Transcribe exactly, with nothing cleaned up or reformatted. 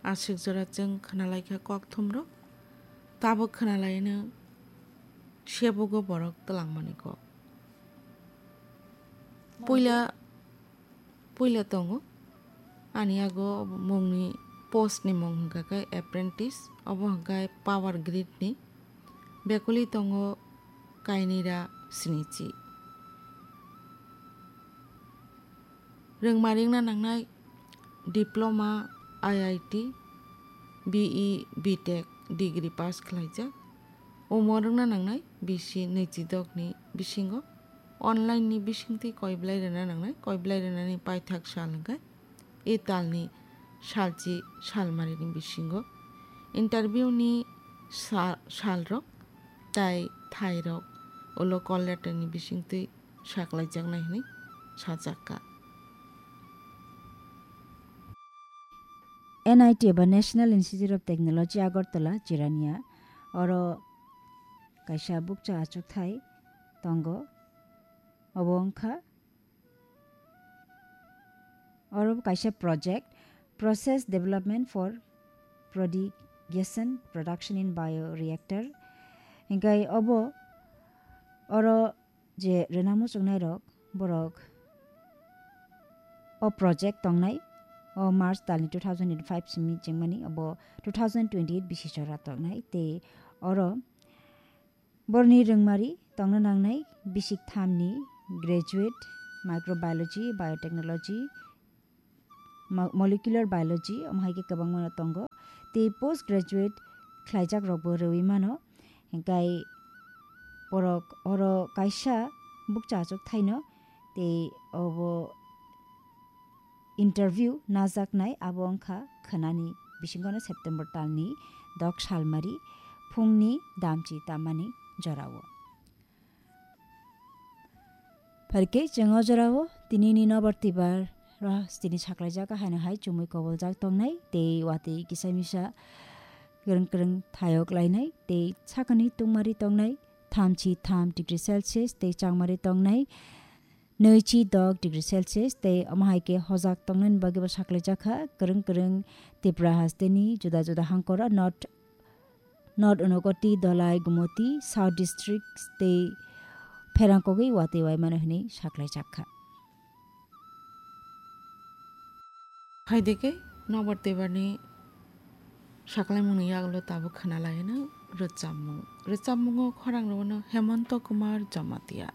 Aswk jora chwng khwnalaikha kokthumrok, tabuk khwnalaino sebogo borok twlangmani kok. Puila, puila tongo, ani yago mungni post ni mung hwnkha khe apprentice, obo hwnkha khe power grid ni, bekuli tongo kainwira sinichi. Rwngma ringna nangnai diploma, I I T, B E, B Tech degree pass khlaijak. Omo rwngna nangnai bisi nwichidok ni bisingo online ni bisingtwi koi belai rwna nangnai, koi belai rwnani paithak sal hwnkhe e talni salchi salmarini bisingo. Interview ni sa-, salrok tai thairok ulo call letter ni bisingtwi saklaijaknai hwnwi sajakha. N I T eba National Institute of Technology Agartala Jirania, oro kaisa bukcha achukthai tongo. Obo wngkha, oro kaisa project, Process Development for Prodigation Production in Bioreactor. Hinkhe obo oro je rwna muchungnairok, borok o project tongnai, o March talni two thousand twenty-five simi chengmani, obo two thousand twenty-eight bisi jora tongnai. Tei oro borni rwngmari tongna nangnai bisik thamni graduate microbiology, biotechnology, mo-, molecular biology, omo hai khe kwbangma no tongo. Tei post graduate khlaijak rokbo rwui mano. Hinkhe borok oro kaisa bukcha achuk thaino tei obo interview najaknai, abo wngkha khwnani bisingono September talni dok salmari phungni damchi tamani jorao. Phaikhe chwng o jorao tinini nobar tibar ro tini saklaijak haino hai chumui koboljak tongnai tei watwi kisa misa kwrwng kwrwng thayok lainai tei sakani tungmari tongnai thamchi tham degree Celsius tei changmari tongnai nwichi dok degree Celsius tei omo hai khe hojak tongnani bagwi bo saklaijak kha kwrwng kwrwng Tripura hasteni juda juda hangkora North North Unakoti, Dhalai, Gumoti, South District tei pherangkogwi watwi waimano hwnwi saklaijak kha. Phaidike nobar tebarni saklaimungni yagulo tabuk khwnalaino rwchapmung. Rwchapmungo khorang rwno Hemonto Kumar Jamatia.